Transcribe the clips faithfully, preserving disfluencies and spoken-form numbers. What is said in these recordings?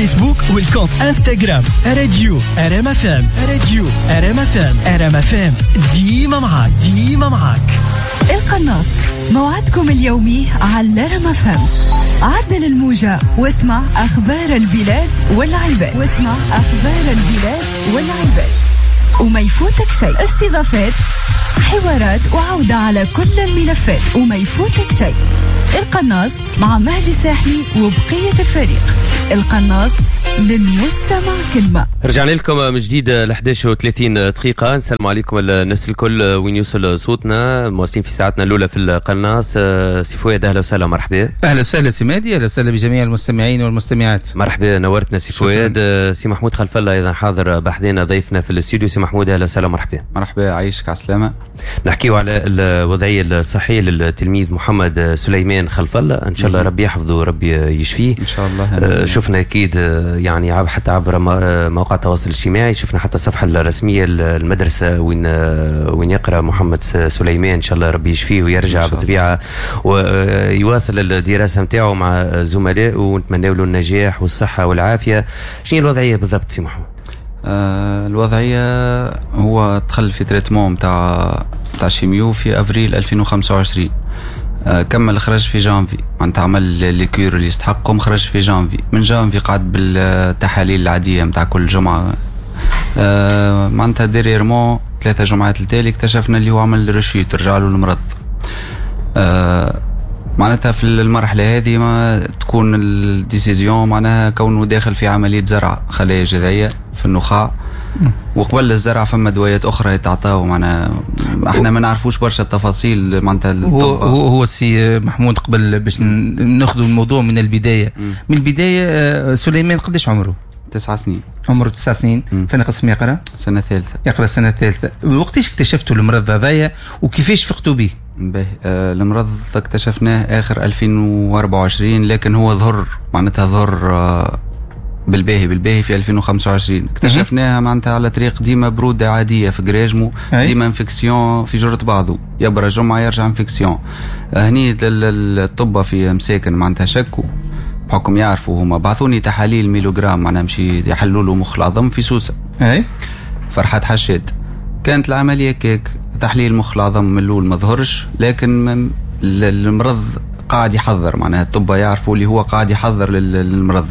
فيسبوك وال compte انستغرام راديو ار ام اف ام، راديو ار ام اف ام، ار ام اف ام ديما معاك، ديما معاك. القناص موعدكم اليومي على ار ام اف ام. عدل الموجة واسمع أخبار البلاد والعباد، واسمع أخبار البلاد والعباد وما يفوتك شيء. استضافات، حوارات، وعودة على كل الملفات وما يفوتك شيء. القناص مع مهدي الساحلي وبقية الفريق. القناص للمستمع كلمة. رجعنا لكم من جديد ل إحداش وثلاثين دقيقة. نسلم عليكم الناس الكل وين يوصل صوتنا، مواصلين في ساعتنا الأولى في القناص. سي فؤاد أهلا وسهلا، مرحبا. أهلا وسهلا سي مهدي، أهلا وسهلا بجميع المستمعين والمستمعات. مرحبا، نورتنا سي فؤاد. سي محمود خلف الله أيضا حاضر بحذنا ضيفنا في الاستوديو. سي محمود أهلا وسهلا، مرحبا. مرحبا، عايشك على السلامة. نحكيو على الوضعية الصحية للتلميذ محمد سليمان خلف الله، إن شاء الله ربي يحفظه وربي يشفيه إن شاء الله. شفنا أكيد يعني حتى عبر مواقع التواصل الاجتماعي، شفنا حتى الصفحة الرسمية للمدرسة وين وين يقرأ محمد سليمان، إن شاء الله ربي يشفيه ويرجع بالطبيعة ويواصل الدراسة نتاعو مع زملائه، ونتمنى له النجاح والصحة والعافية. شنو الوضعية بالضبط سي محمد؟ آه الوضعية هو دخل في traitement نتاع نتاع chimio في أفريل ألفين وخمسة وعشرين، آه كمل خرج في جانفي، معناتها عمل les cures اللي يستحقهم، خرج في جانفي. من جانفي قعد بالتحاليل العادية نتاع كل جمعة، آه معناتها dernièrement ثلاثة جمعات التالي اكتشفنا اللي هو عمل rechute، رجع له المرض. آه معناتها في المرحلة هذه ما تكون ال décision معناها كونه داخل في عملية زرع خلايا جذعية في النخاع، وقبل الزرع فما دوايات أخرى يتعطاو، معناها احنا ما نعرفوش برشا التفاصيل معناتها. هو هو, هو السي محمود قبل باش ناخذ الموضوع من البداية، م. من البداية سليمان قداش عمره؟ تسعة سنين. عمره تسع سنين. فين قسم يقرا؟ سنة ثالثة. يقرا سنة ثالثة. وقتاش اكتشفتوا المرض هذايا وكيفاش فقتوا به؟ به آه المرض اكتشفناه اخر ألفين وأربعة وعشرين، لكن هو ظهر معناتها ظهر آه بالباهي بالباهي في ألفين وخمسة وعشرين. اكتشفناها معناتها على طريق ديما برودة عادية في قراجمو، ديما infection في جرة بعضه، يبرى جمعة يرجع infection. هني الطب في مساكن معناتها شكوا بحكم يعرفوا هما، بعثوني تحاليل myélogramme معناها مشي يحلوا له مخ العظم في سوسة. اي فرحات حشاد. كانت العملية كيك تحليل مخ العظم من الاول ما ظهرش، لكن المرض قاعد يحضر، معناها الطب يعرفوا اللي هو قاعد يحضر للمرض.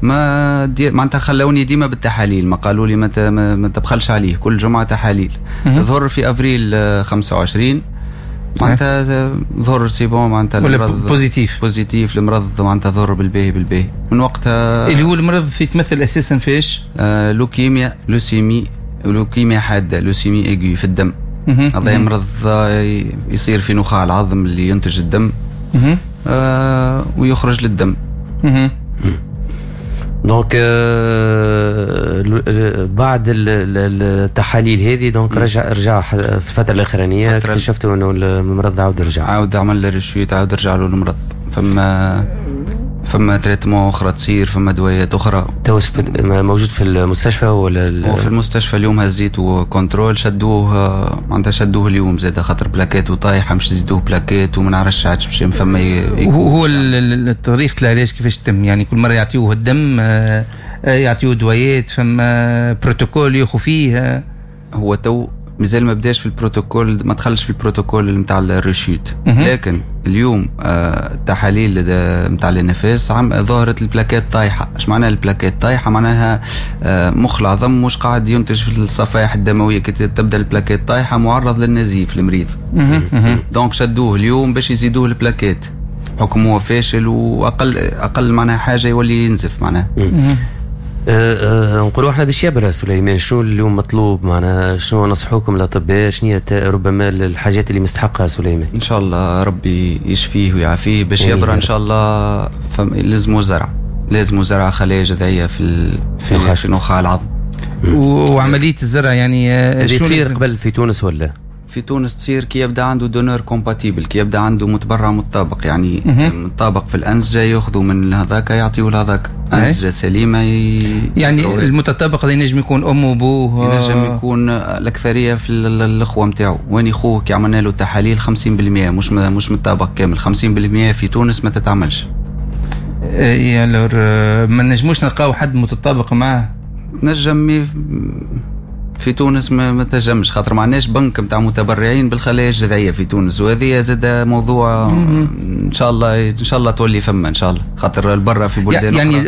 ما دير معناتها خلوني ديما بالتحاليل، ما قالوا لي ما, ما تبخلش عليه، كل جمعه تحاليل. ظهر في افريل خمسة وعشرين معناتها ظهر c'est bon، معناتها المرض positif positif المرض معناتها ظهر بالباهي بالباهي من وقتها. اللي هو المرض في يتمثل اساسا فيش؟ آه لوكيميا، leucémie، لوكيميا حادة، leucémie aiguë في الدم. هذا مرض يصير في نخاع العظم اللي ينتج الدم آه ويخرج للدم. donc بعد التحاليل هذه donc رجع رجع في الفترة الاخرانية اكتشفتوا انه المرض عاود رجع، عاود عمل rechute، عاود رجع له المرض. فما فما traitement اخرى تصير، فما دوايات اخرى. تو موجود في المستشفى ولا؟ هو في المستشفى اليوم هزيته contrôle، شدوه معناتها شدوه اليوم زاد خاطر plaquettes وطايحه، مش يزيدوه plaquettes وما نعرفش عادش باش فما. هو هو طريقه العلاج كيفاش تتم؟ يعني كل مرة يعطيوه الدم، يعطيوه دوايات، فما بروتوكول ياخذ فيه؟ هو تو مازال ما بداش في البروتوكول، ما دخلش في البروتوكول نتاع ال rechute، لكن اليوم التحاليل نتاع النفاس عم ظهرت ال plaquettes طايحة. اش معناها ال plaquettes طايحة؟ معناها مخ العظم مش قاعد ينتج في الصفائح الدموية، كي تبدا ال plaquettes طايحة معرض للنزيف المريض. donc شدوه اليوم باش يزيدوه ال plaquettes، حكم هو فاشل واقل اقل معناها حاجة يولي ينزف معناها. أه أه نقولوا احنا باش يبرا سليمان، شنو اليوم مطلوب معنا؟ شنو نصحوكم الاطباء؟ شنو هي ربما الحاجات اللي مستحقها سليمان؟ ان شاء الله ربي يشفيه ويعافيه باش يبرا ان شاء الله. لازمو زرع، لازمو زرع خلايا جذعيه في ال... في, في نخاع العظم. وعملية الزرع يعني شو تصير قبل في تونس ولا؟ في تونس تصير كي يبدا عنده donneur compatible، كي يبدا عنده متبرع متطابق، يعني متطابق في الانسجة، ياخذوا من هذاك يعطيوه لهذاك، انسجة سليمة ي... يعني المتطابق هذا ينجم يكون امه وابوه، ينجم يكون الاكثرية في الاخوة نتاعو. وين خوه كي عملنا له تحاليل خمسين بالمية مش مش متطابق كامل، خمسين بالمية في تونس ما تتعملش. اي alors ما نجموش نلقاو حد متطابق معاه؟ نجم في تونس ما, ما تنجمش، خاطر ما عندناش بنك نتاع متبرعين بالخلايا الجذعية في تونس، وهذه زاد موضوع ان شاء الله ان شاء الله تولي فما ان شاء الله، خاطر البرة في بلدان يعني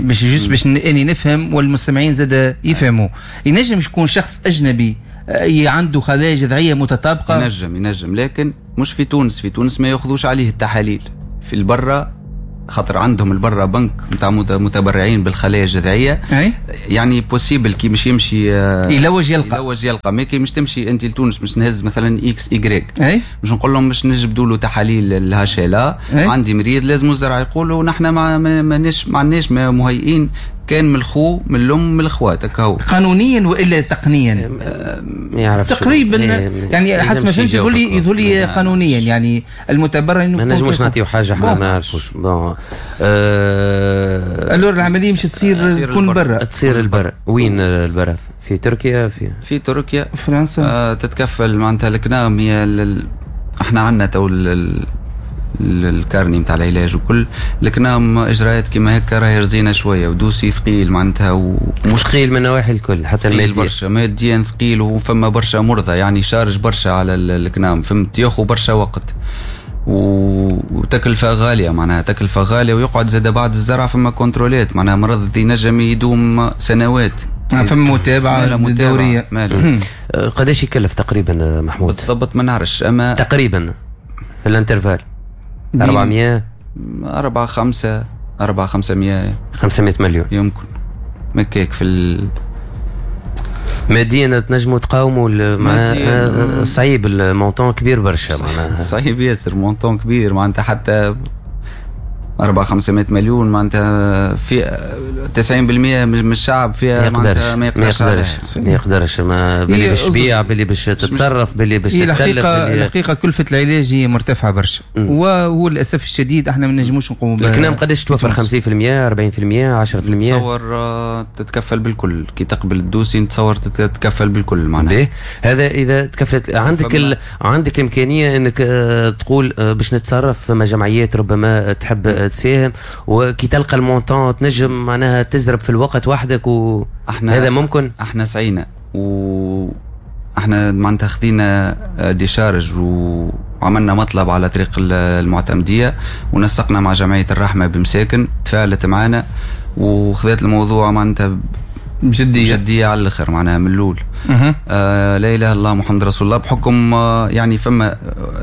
باش juste باش اني نفهم والمستمعين زاد يفهموا، ينجم يكون شخص اجنبي عنده خلايا جذعيه متطابقة؟ ينجم ينجم، لكن مش في تونس. في تونس ما ياخذوش عليه التحاليل، في البرة خاطر عندهم البرة بنك نتاع متبرعين بالخلايا الجذعية. أي؟ يعني possible كي مش يمشي يلوج يلقى يلوج يلقى، mais كي مش تمشي انت لتونس مش نهز مثلا X Y، مش نقول لهم مش نجبدوا له تحاليل ال HLA، عندي مريض لازم زرع، يقولوا نحن ما ماناش ما عندناش مهيئين، كان من الخو من الام من الاخوات هكا. قانونيا والا تقنيا؟ ما يعرفش تقريبا يعني حسب ما فهمت يقول لي يقول لي قانونيا يعني المتبرع ما نجموش نعطيو حاجة احنا ما نعرفوش. bon أه alors العملية مش تصير تكون برا، تصير البرا. وين البرا؟ في تركيا؟ في في تركيا، فرنسا. آه تتكفل معناتها الكنام هي ال... احنا عندنا تو ال... ال carnet نتاع العلاج وكل، لكن اجراءات كيما هكا راهي رزينه شوية و dossier ثقيل معناتها، ومش ثقيل من النواحي الكل حتى المادية برشا، ماديا ثقيل، وفما برشا مرضى يعني charge برشا على الكنام، فهمت، ياخذ برشا وقت وتكلفة غالية معناها، تكلفة غالية، ويقعد زاد بعد الزرع فما contrôle ات معناها، مرض ينجم يدوم سنوات، فما متابعه دورية. قداش يكلف تقريبا محمود؟ بالضبط ما نعرفش، اما تقريبا في ال intervalle أربعمية أربعة خمسة أربعة خمسمية خمسمية مليون يمكن مكيك في ال... ماديا تنجموا تقاوموا مع صعيب ال montant كبير برشا معناها، صعيب ياسر montant كبير معناتها، حتى أربعة خمسمية مليون معناتها في تسعين بالمية من الشعب فيها معناتها ما يقدرش ما يقدرش ما يقدرش ما باللي باش تبيع، باللي باش تتصرف، باللي باش تتسلف. الحقيقة كلفة العلاج هي مرتفعة برشا، وهو للأسف الشديد احنا ما نجموش نقوموا بها. الكلام قداش توفر؟ خمسين بالمية أربعين بالمية عشرة بالمية؟ نتصور تتكفل بالكل، كي تقبل ال dossier نتصور تتكفل بالكل معناها. هذا إذا تكفلت عندك ال... عندك الإمكانية أنك تقول باش نتصرف، فما جمعيات ربما تحب تساهم، وكي تلقى ال montant تنجم معناها تزرب في الوقت وحدك و احنا هذا ممكن. احنا سعينا و احنا معناتها خذينا décharge وعملنا مطلب على طريق المعتمديه، ونسقنا مع جمعية الرحمة بمساكن، تفاعلت معنا وخذت الموضوع معناتها بجدية بجدية على الاخر معناها من الاول. آه لا اله الا الله محمد رسول الله، بحكم آه يعني فما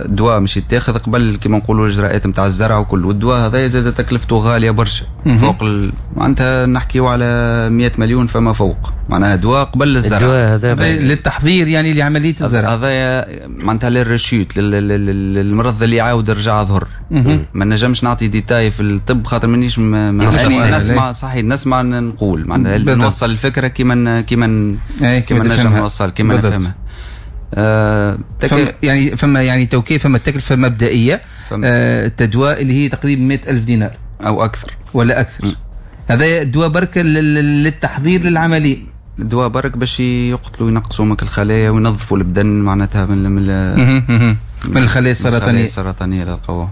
دواء مش يتاخذ قبل كما نقولوا الاجراءات نتاع الزرع وكل، والدواء هذا زاد تكلفته غالية برشا فوق ال... معناتها نحكيو على مية مليون فما فوق معناها دواء قبل الزرع، الدواء هذا للتحضير يعني لعملية الزرع، هذا معناتها لل rechute للمرض اللي عاود رجع ظهر. ما نجمش نعطي détails في الطب خاطر مانيش م... نسمع صحيح نسمع نقول معناتها نوصل الفكرة كيما كيما كيما نجم نوصل كيما نفهمها. آه تك... يعني فما يعني توكي فما تكلفة مبدئية آه التدواء اللي هي تقريبا مئة ألف دينار او اكثر ولا اكثر. م. هذا دواء برك للتحضير للعملية، الدواء برك باش يقتلوا ينقصوا مك الخلايا وينظفوا البدن معناتها من من من الخلايا السرطانية السرطانية للقوة.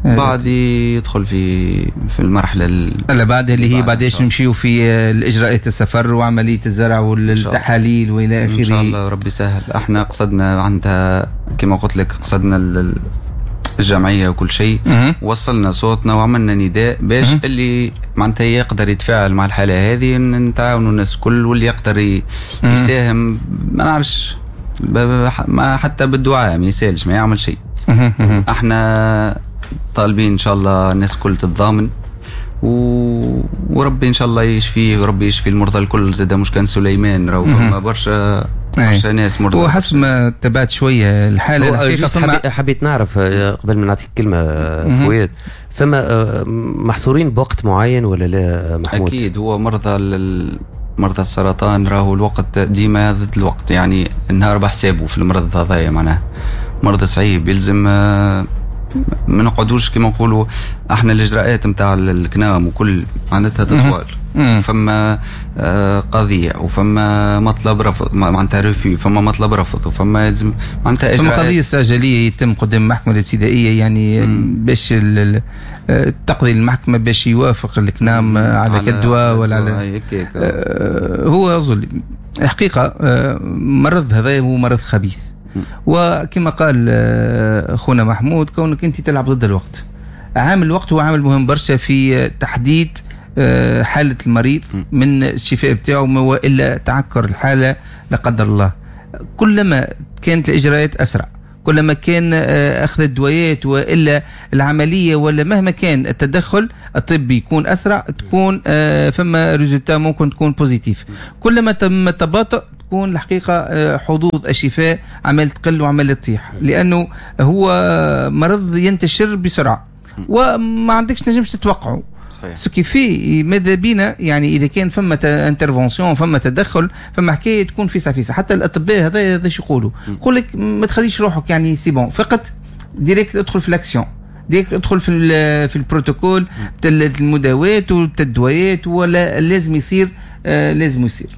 بعد يدخل في في المرحلة اللي بعد اللي هي بعداش نمشيو في الاجراءات السفر وعملية الزرع والتحاليل والى اخره. ان شاء الله ربي يسهل. احنا قصدنا عندها كما قلت لك قصدنا الجمعية وكل شيء، وصلنا صوتنا وعملنا نداء باش اللي معناتها يقدر يتفاعل مع الحالة هذه نتعاونوا الناس كل، واللي يقدر يساهم ما نعرفش ما حتى بالدعاء ما يسالش ما يعمل شيء. احنا طالبين ان شاء الله الناس كل تتضامن و... وربي ان شاء الله يشفيه، وربي يشفي المرضى الكل زاد، مش كان سليمان راهو فما برشا برشا ناس مرضى. وحسب ما تبعت شوية الحالة فما... حبيت نعرف قبل ما نعطيك كلمة فؤاد، فما محصورين بوقت معين ولا لا محمود؟ اكيد هو مرضى ال... مرضى السرطان راهو الوقت ديما ضد الوقت، يعني النهار بحسابه في المرض هذايا معناه مرض صعيب يلزم ما نقعدوش كما نقولوا احنا الاجراءات نتاع الكنام وكل معناتها تطوال. فما قضية وفما مطلب رفض، معناتها refus، فما مطلب رفض، وفما يلزم معناتها اجراءات. فما قضية استعجاليه يتم قدام المحكمة الابتدائية، يعني باش تقضي المحكمة باش يوافق الكنام على الدواء ولا على آه هو ظلم الحقيقة. آه مرض هذا هو مرض خبيث، وكما قال اخونا محمود كونك انت تلعب ضد الوقت. عامل الوقت هو عامل مهم برشا في تحديد حالة المريض من الشفاء بتاعه والا تعكر الحالة لا قدر الله. كلما كانت الإجراءات أسرع، كلما كان أخذ الدويات وإلا العملية ولا مهما كان التدخل الطبي يكون أسرع، تكون فما résultat ممكن تكون positif. كلما تم التباطؤ تكون الحقيقة حظوظ الشفاء عمال تقل وعمال تطيح، لأنه هو مرض ينتشر بسرعة وما عندكش نجمش تتوقعه. صحيح. ce qui fait ماذا بينا يعني اذا كان فما intervention، فما تدخل، فما حكاية تكون فيسع فيسع. حتى الاطباء هذا هذا شو يقولوا، يقول لك ما تخليش روحك يعني c'est bon فقط direct ادخل في l'action، direct ادخل في في البروتوكول المداوات والدويات، ولا لازم يصير آه لازم يصير.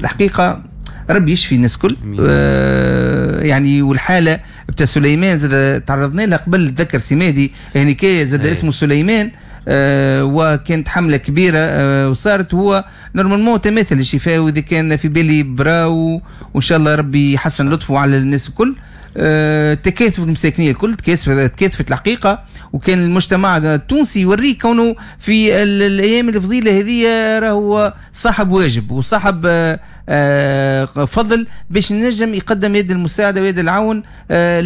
الحقيقة ربي يشفي الناس الكل. آه يعني والحالة بتاع سليمان زاد تعرضنا لها قبل، تذكر سي يعني كي زاد اسمه سليمان، آه وكانت حمله كبيرة آه وصارت هو normalement تماثل الشفاء، واذا كان في بالي برا، وان شاء الله ربي يحسن لطفه على الناس الكل. آه تكاثف المساكنيه الكل، تكاثفت الحقيقة، وكان المجتمع التونسي يوريه كونه في الايام الفضيلة هذه راهو صاحب واجب وصاحب آه آه فضل باش نجم يقدم يد المساعدة ويد العون آه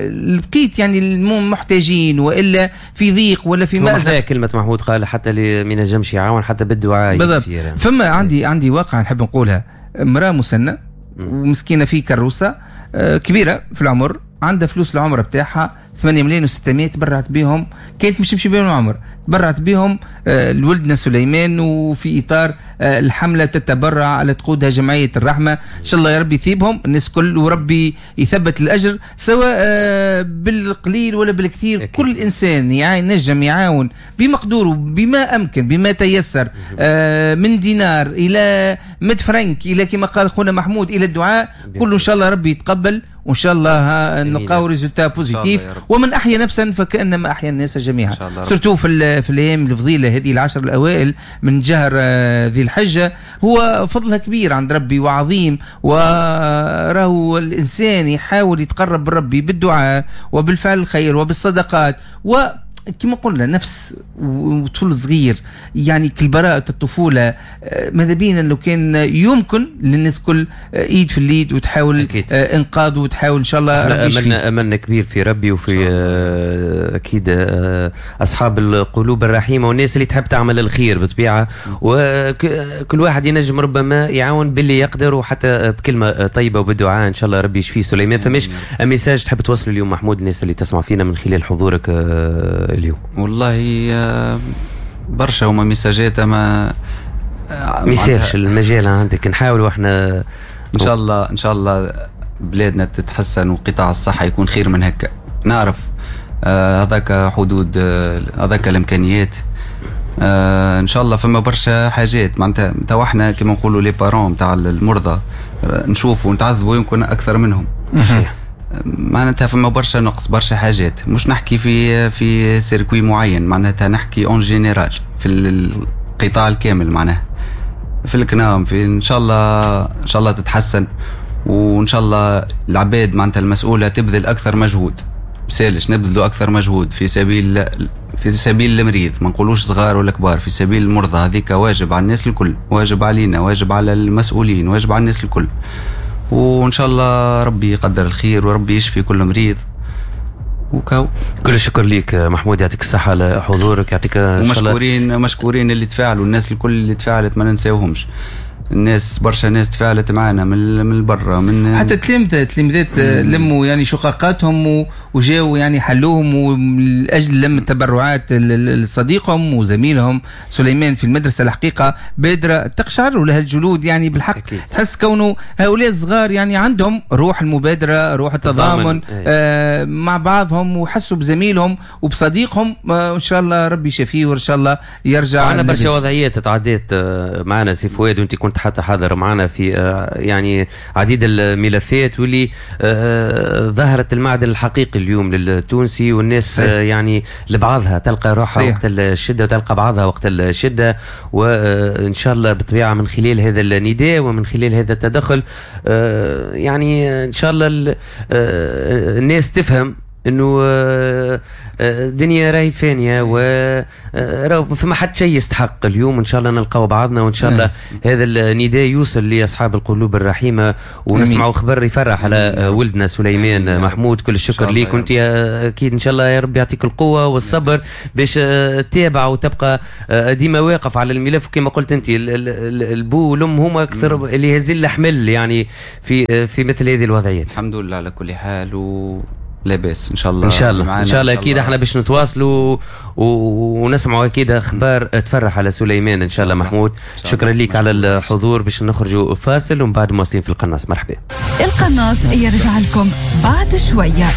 لبقيت يعني المحتاجين والا في ضيق ولا في مأزق. كلمة محمود قال حتى اللي ما ينجمش يعاون حتى بالدعاء. بالضبط. فما عندي عندي واقعه نحب نقولها، امراة مسنة ومسكينه في كروسه آه كبيرة في العمر، عندها فلوس العمرة بتاعها ثمانية ملايين وستمية، تبرعت بهم، كانت مش تمشي بهم العمر، تبرعت بهم آه لولدنا سليمان، وفي اطار آه الحملة تتبرع على تقودها جمعية الرحمة. ان شاء الله يا ربي يثيبهم الناس كل، وربي يثبت الاجر سواء آه بالقليل ولا بالكثير. أكيد. كل انسان ينجم يعاون بمقدوره بما امكن بما تيسر، آه من دينار الى مية فرنك الى كما قال خونا محمود الى الدعاء، كله ان شاء الله ربي يتقبل، وان شاء الله نلقاو résultat positif. ومن احيا نفسا فكانما احيا الناس جميعا، surtout في في الايام الفضيلة هذه العشر الاوائل من شهر ذي الحجة، هو فضلها كبير عند ربي وعظيم، وراهو الانسان يحاول يتقرب بربي بالدعاء وبالفعل الخير وبالصدقات، و كما قلنا نفس وطفل صغير يعني كالبراءة الطفولة. ماذا بينا لو كان يمكن للناس كل ايد في اليد وتحاول أكيد. انقاذه وتحاول ان شاء الله. املنا املنا كبير في ربي وفي اكيد اصحاب القلوب الرحيمة والناس اللي تحب تعمل الخير بطبيعة، وكل واحد ينجم ربما يعاون باللي يقدر وحتى بكلمة طيبة وبالدعاء ان شاء الله ربي يشفيه سليمان. فماش message تحب توصله اليوم محمود الناس اللي تسمع فينا من خلال حضورك اليوم؟ والله برشا هما ميساجات، اما message المجال عندك نحاول واحنا ان شاء الله ان شاء الله بلادنا تتحسن وقطاع الصحة يكون خير من هكا. نعرف هذاك آه حدود هذاك آه الامكانيات، آه ان شاء الله فما برشا حاجات معناتها تو احنا كما نقولوا les parents تاع المرضى نشوفوا ونتعذبوا يمكن اكثر منهم. صحيح. معناتها فما برشا نقص برشا حاجات، مش نحكي في في circuit معين، معناتها نحكي en général في القطاع الكامل، معناها في الكنام في ان شاء الله ان شاء الله تتحسن، وان شاء الله العباد معناتها المسؤولة تبذل اكثر مجهود، بسالش نبذلوا اكثر مجهود في سبيل في سبيل المريض، ما نقولوش صغار ولا كبار، في سبيل المرضى. هذيك واجب على الناس الكل، واجب علينا، واجب على المسؤولين، واجب على الناس الكل. وان شاء الله ربي يقدر الخير وربي يشفي كل مريض. وكاو كل الشكر ليك محمود، يعطيك الصحة على حضورك، يعطيك ومشكورين مشكورين اللي تفاعلوا، الناس الكل اللي تفاعلت ما ننساوهمش. الناس برشا ناس تفاعلت معنا من من برا، من حتى تلامذة تلامذات لموا يعني شقاقاتهم وجاوا يعني حلوهم ومن اجل لم التبرعات لصديقهم وزميلهم سليمان في المدرسة. الحقيقة بادره تقشعر لها الجلود يعني بالحق. أكيد. تحس كونه هؤلاء الصغار يعني عندهم روح المبادرة، روح التضامن آه مع بعضهم، وحسوا بزميلهم وبصديقهم. آه ان شاء الله ربي يشفيه وان شاء الله يرجع. عندنا برشا وضعيات تعديت معنا سي فؤاد، وانت كنت حتى حاضر معنا في يعني عديد الملفات واللي ظهرت المعدن الحقيقي اليوم للتونسي والناس. صحيح. يعني لبعضها تلقى روحها وقت الشدة وتلقى بعضها وقت الشدة. وان شاء الله بالطبيعة من خلال هذا النداء ومن خلال هذا التدخل يعني ان شاء الله الناس تفهم انه الدنيا راهي فانيه و فما حد شيء يستحق اليوم. ان شاء الله نلقاو بعضنا، وان شاء الله هذا النداء يوصل لاصحاب القلوب الرحيمة ونسمعوا خبر يفرح على ولدنا سليمان محمود. كل الشكر ليك، وانت اكيد ان شاء الله يا رب يعطيك القوة والصبر باش تتابع وتبقى ديما واقف على الملف. كما قلت انت البو والام هما اكثر اللي هزين الحمل يعني في في مثل هذه الوضعيات. الحمد لله على كل حال و لاباس ان شاء الله. ان شاء الله ان شاء الله اكيد احنا باش نتواصلوا ونسمعوا اكيد اخبار تفرح على سليمان ان شاء الله محمود. شكرا لك على الحضور. باش نخرجوا فاصل ومن بعد مواصلين في القناص. مرحبا. القناص يرجع لكم بعد شوية.